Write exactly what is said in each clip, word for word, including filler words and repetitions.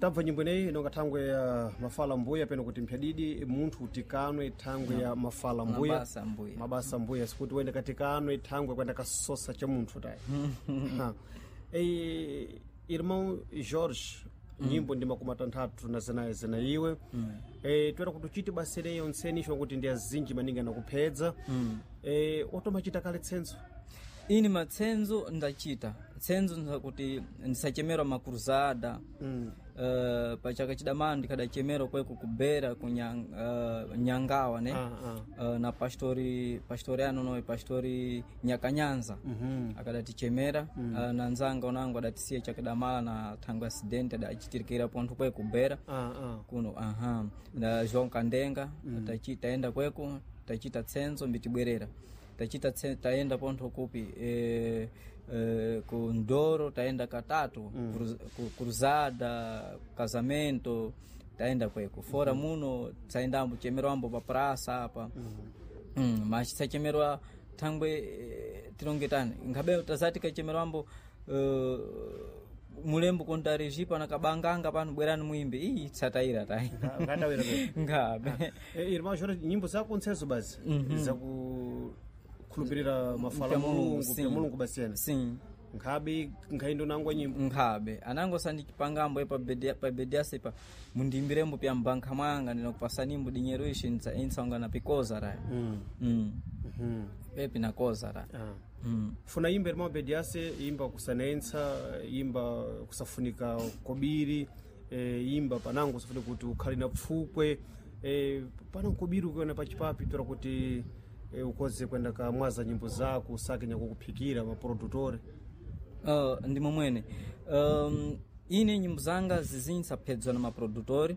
Tabva nyimbo ineyi inonga thangwe ya mafala mbuya peno kuti mphyadidi munthu tikanwe thangwe ya mafala mbuya. Mabasa mbuya. Mabasa mbuya, sikuti wende katikanwe thangwe kwenda kasosa cha munthu tayi. Ha. Eh, irmão Jorge, nyimbo ndi makumi atanthatu na zinayi zina iwe eh, toera kuti uchite basa ileyo ntseni isho kuti ndi azinji maningi anakuphedza eh, otomachita kale tsenzo? Ini matsenzo ndachita tsenzo nzakuti ndisachemerwa makruzada mm. Uh, pachaka chidamana ndikadachemerwa kweko kubera ku nyang, uh, nyangawa ne. Ah, Uh, na pastori pastori ano noyi pastori Nyakanyanza mm -hmm. akadatichemera mm. uh, na nzanga unango adatisiya chakadamala na thango accident adachitirikira pontho kweko kubera ah, ah. kuno aha na João Kandenga mm. tachi taenda kweko tachita tsenzo mbitibwerera tachita tse, taenda pontho kupi e, e, ku Ndoro taenda katatu mm. cruz, ku- cruzada casamento taenda kweko fora mm. muno tsaendambo chemerwambo pa praça apa mm. mm, mas tsachemerwa thangwe eh, tilongetani nkhabe tazati kachemerwambo uh, mulembo kontarijipa na kabanganga pano bwerani muimbe iyi tsatayira tayi. Ngatawira kweko. Ngabe. Eh, irmão Jorge, nyimbo zako ntsezo basi zakukhulupirira mafala Pya Mulungu, Mulungu sim. pya Mulungu basiyana Sim. nkhabe nkhaindo nangwa nyimbo. Nkhabe anango sandichipangambo pa bedi pa bediasa pa mundimbirembo pya mbankha mwanga ndinakupasanimbo dinheiro ishi intsaunga na pikoza raya mm. mm. mm pepi nakoza raya -hmm. ah. mm. Funa imba irmão Bediase, imba kusanentsa, imba kusafunika kobiri e, imba panango kusafunika kuti ukhale na pfukwe e, pana kobiri ukiona pachipapi tora kuti e, ukoze kwenda kamwaza nyimbo zako usake nyakukuphikira maprodutore. Uh, ndi momwene um, ine nyimbo zanga zizinji ndisaphedzwa na maprodutori,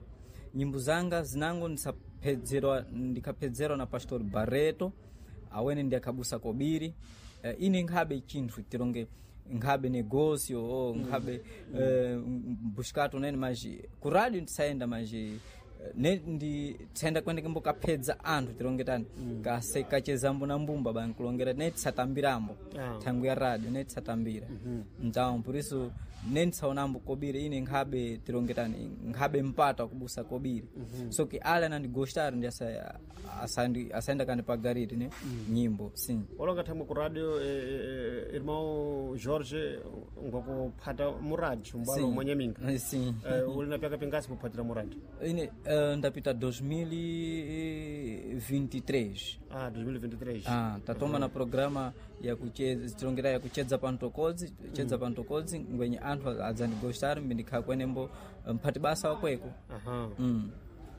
nyimbo zanga zinango ndisaphedzerwa ndikaphedzerwa na pastor Barreto awene ndi akhabusa kobiri. uh, ine nkhabe chinthu tilonge nkhabe negócio ou nkhabe mm. uh, buscato nene mas ku rádio ndisayenda mas eh, ne ndi tsaenda kwende kimbo kaphedza anthu tilongetani mm. kase kachezambo na mbumba bankulongera ne tisatambirambo Ah. thangu ya radio ne tisatambira então por isso ne ndisaonambo kobiri ine nkhabe tilongetani nkhabe mpata wakubusa kobiri so que ale anandigostar ndi asa- asandi- asaenda kandipagarire ne nyimbo sim. Olonga thamwe ku radio e, e, irmão Jorge ngwakuphata muradio mbalo Sim. mwanyaminga Sim. Eh, uli na pyaka pingasi kuphatira muradio? Ine eh, ndapita dois mil e vinte e três. Ah, dois mil e vinte e três. Ah, tatoma na programa ya kucheza tilongera ya kuchedza pantokodzi chedza mm. pantokodzi ngwenye anthu adzandigostar mbindikhala kwenembo mphati basa wakweko. Aha. mm.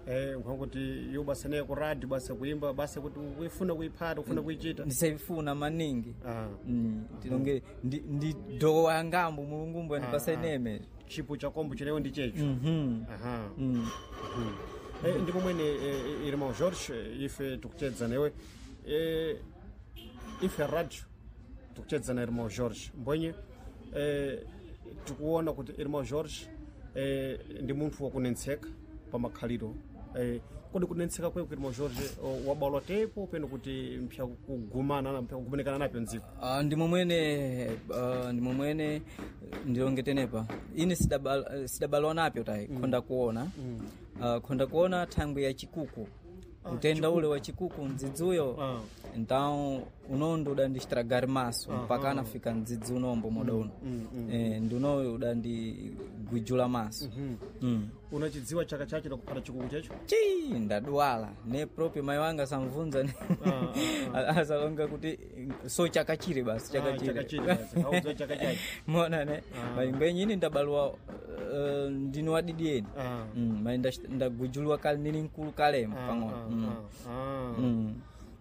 Eh, nkwankuti yo basa naye ku radio basa kuimba basa kuti uifuna kuiphata ufuna kuichita. Ndisaifuna maningi. Ah. mm. tilonge ndi, ndi dowa yangambo mulungumbo andipasa ineme. Chipo cha kombo chineyo ndi checho. mm Aha. -hmm. mm. Eh, ndi momwene eh, irmão Jorge, eh, ife tikuchedza newe eh, ife radio tikuchedza na irmão Jorge mbwenye eh, tikuona kuti irmão Jorge eh, ndi munthu wakunentseka pa makhaliro eh, kodi kunentseka kweko irmão Jorge oh, wabalwa tepo peno kuti mpya kugumana mpya kugumanikana napyo mdziko? Ah, ndi momwene ah, ndi momwene ndilongetenepa ine sidabal- sidabalwa napyo tayi mm. khonda kuona mm. uh, khonda kuona thangwi ya chikuku utenda ule wa chikuku mdzidzi uyo. Ah. Então unondo udandistragari maso mpaka anafika mdzidzi unombo moda uno eh, ndi unoyo udandigwijula maso mm. Unachidziwa chaka chacho nakuphata chikuku checho? Chi ndadwala ne proprio mai wanga samvunza ne asalonga kuti so chaka chire basi chaka Ah, chaka chire. chire basi, audziwa chaka chacho. Mona ne mai ine ndabalwa uh, ndini wadidieni. Ah. mm, mai ndash- ndagujuliwa kale nili mkulu kalemo pang'ono mm. Ah, ah. Mm.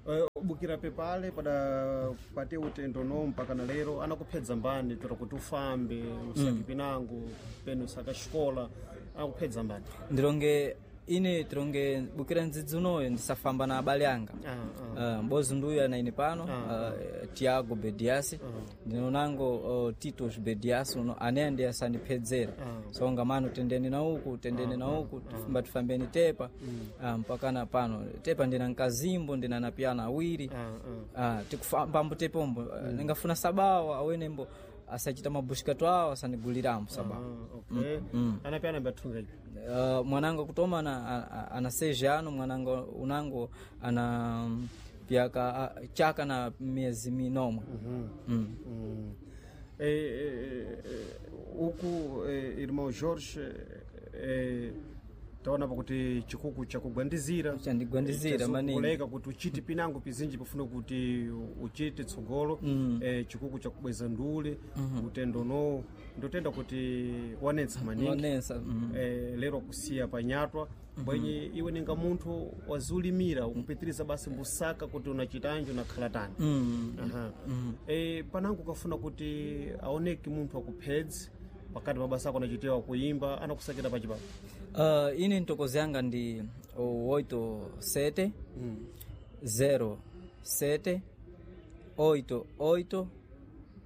Eh, ubukira pepale pada pate utendo no mpaka na lero anakuphedza mbani tora kuti ufambe usake pinango peno usaka xikola anakuphedza mbani? Ndilonge ine tilonge bukira ndzidzi unoyo ndisafamba na abale anga. Ah, ah. Uh, mbozi nduyu anaine pano uh, Tiago Bediasi ndinonango uh, Titos Bediasi uno ane ndi asandiphedzera so ngamano tendeni na uku tendeni na uku tifamba tifambeni tepa uh, mpaka na pano tepa ndina nkazimbo ndina na piana awiri. Ah, ah. uh, tikufambambo tepombo uh, ningafuna sabawa awenembo asachita mabushikato awo asanigulirambo sababu Ah, okay anapi anambathunga ipi Uh, mwanangu kutoma ana, ana, ana seis ano mwanangu unangu ana mm, pyaka a- chaka na miezi minomwe mm. Mm. Eh, eh, eh, uku eh, irmão Jorge eh, taonapo kuti chikuku chakugwandizira Chandigwandizira maningi. kuleka kuti uchite pinango pizinji pofuna kuti uchite tsogolo mm. eh, chikuku chakubweza ndule mm -hmm. utendo no ndotenda kuti wanetsa maningi Wanetsa, mm. eh, lero kusiya panyatwa bwenye iwe ninga munthu waziulimira ukupitiriza basi mbusaka kuti unachitanji unakhala tani Mm. Aha. Eh, panango ukafuna kuti aoneke munthu akuphedzi pakati mabasa ako anachitewa kuimba anakusakira pachipapa Uh, ine ntokozo yanga ndi oito sete zero sete oito oito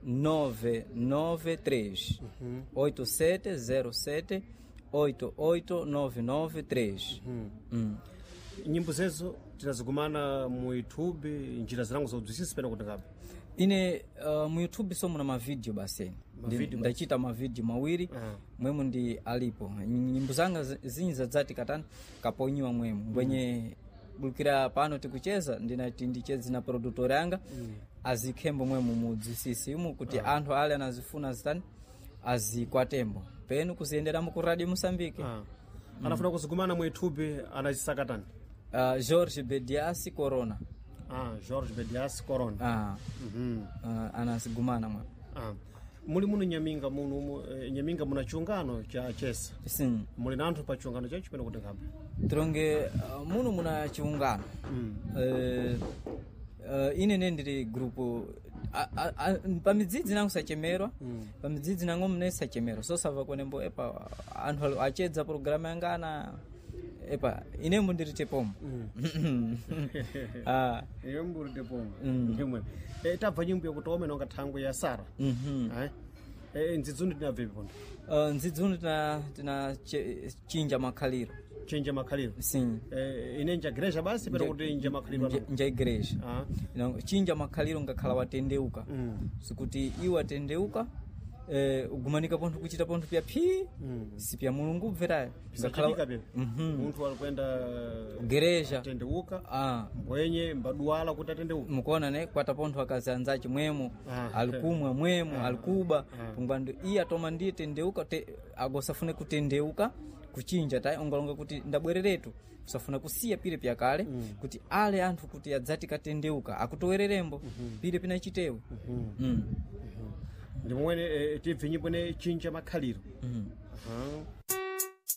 nove nove três oito sete zero sete oito oito nove nove três Mm. nyimbo zezo tinazigumana mu youtube njira zilango zaudzwisisa pena kuti ngapi ine uh, mu youtube so muna mavideo basi Mavideo Ndi- ndachita mavideo mawiri Ah. mwemu ndi alipo nyimbo zanga zi- zinyi zadzati katani kaponyiwa mwemu mbwenye bulukira pano tikucheza ndinati ndicheze na produtor yanga mm. azikhembo mwemu mudzisisi umu kuti anthu ale anazifuna zitani azikwatembo penu kuziyenderamo ku radio Moçambique Ah. Anafuna kuzigumana mu youtube anazisaka tani uh, Jorge Bediasi Corona ah, Jorge Bedias Corona ah, mm uh, anazigumana mwe ah. Muli muno nyaminga muno umu, eh, nyaminga muna chiungano cha chesa sim muli na anthu pa chiungano chacho pena kuti ngapi tironge uh, muno muna chiungano mm. Eh, eh, ine ne ndiri grupu a- a- a- pamidzidzi nangu sachemerwa pamidzidzi nangu mune sachemerwa so sava kunembo epa anthu alo achedza programu yanga ana epa inembo ndiri tepomo Ah, iwe mburi tepomo ndimwe eh, tabva nyimbo yakuti omene wanga thangwe ya Sara mhm. eh? eh, ndzidzundi tinabvepi pondo Eh, ndzidzuno tina tina che- chinja makhaliro chenja makhaliro sim eh, ine nja gereja basi pena kuti nja makhaliro nja ano nja igreja ah. Ino, chinja makhaliro ngakhala watendeuka mm. sikuti iwe atendeuka eh, ugumanika pontho kuchita pontho pya phi Mm. si pya mulungu ubverayo Pisachitika pepe Mhm. munthu alikwenda gereja tendeuka ah, mbwenye mbaduwala kuti atendeuka mukuona ne kwata pontho akazi anzace mwemo Ah. alikumwa mwemo alikuba Ah. pungwando iye atoma ndiye tendeuka te, agosafune kutendeuka kuchinja tayi ongalonga kuti ndabwereretu kusafuna kusiya pile pyakale kuti ale anthu kuti adzati katendeuka akutowererembo pile pinachitewe mm. ndi momwene eh, tibve nyimbo ne chinja makhaliro mm. Aha.